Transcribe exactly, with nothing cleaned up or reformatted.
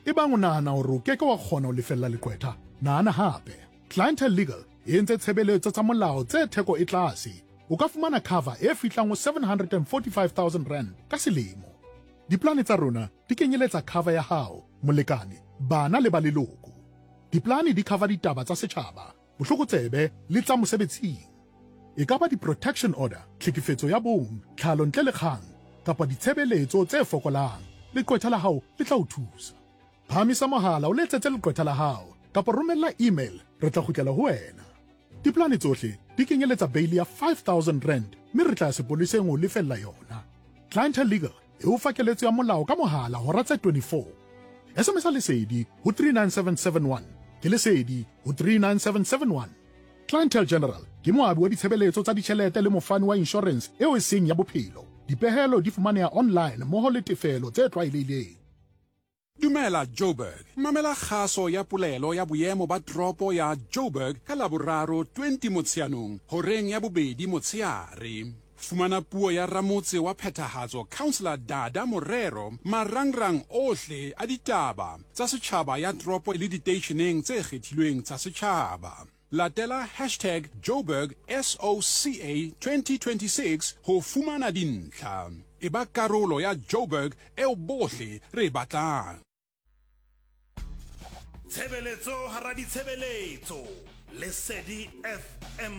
Ebang o nahana hore o ke ke wa kgona ho lefella leqwetha, nahana hape. Clientele Legal e entse tshebeletso tsa molao tse theko e tlase. O ka fumana cover e fihlang ho seven hundred and forty-five thousand rand ka selemo. Diplane tsa rona di kenyeletsa cover ya hao, molekane, bana le ba leloko. Diplane di cover ditaba tsa setjhaba, bohlokotsebe le tsa mosebetsing. E ka ba di-protection order, tlhekefetso ya bong, tlhalo ntle le kgang, kapa ditshebeletso tse fokolang. Leqwetha la hao le tla o thusa. Phahamisa mohala o letsetse leqwetha la hao kapa romella email, re tla kgutlela ho wena. Diplane tsohle di kenyeletsa bail ya five thousand rand mme re tla ya sepoleseng ho lefella yona. Clientele Legal e o fa keletso ya molao ka mohala hora tse twenty-four. S M S Lesedi ho three nine seven seven one. Ke Lesedi ho three nine seven seven one. Clientele General ke moabi wa ditshebeletso tsa ditjhelete le mofani wa insurance eo e seng ya bophelo. Dipehelo di fumaneha online mmoho le tefelo tse tlwaelehileng. Dumela Joburg. Mamela kgaso ya polelo ya boemo ba toropo ya Joburg ka Laboraro twenty Motsheanong horeng ya bobedi motshehare. Fumana puo ya ramotse wa phethahatso Councillor Dada Morero marangrang ohle a ditaba tsa setjhaba ya toropo le diteisheneng tse kgethilweng tsa setjhaba. Latela hashtag Joburg S O C A twenty twenty-six ho fumana dintlha. E ba karolo ya Joburg eo bohle re e batlang. Tshebeletso hara ditshebeletso. Lesedi F M.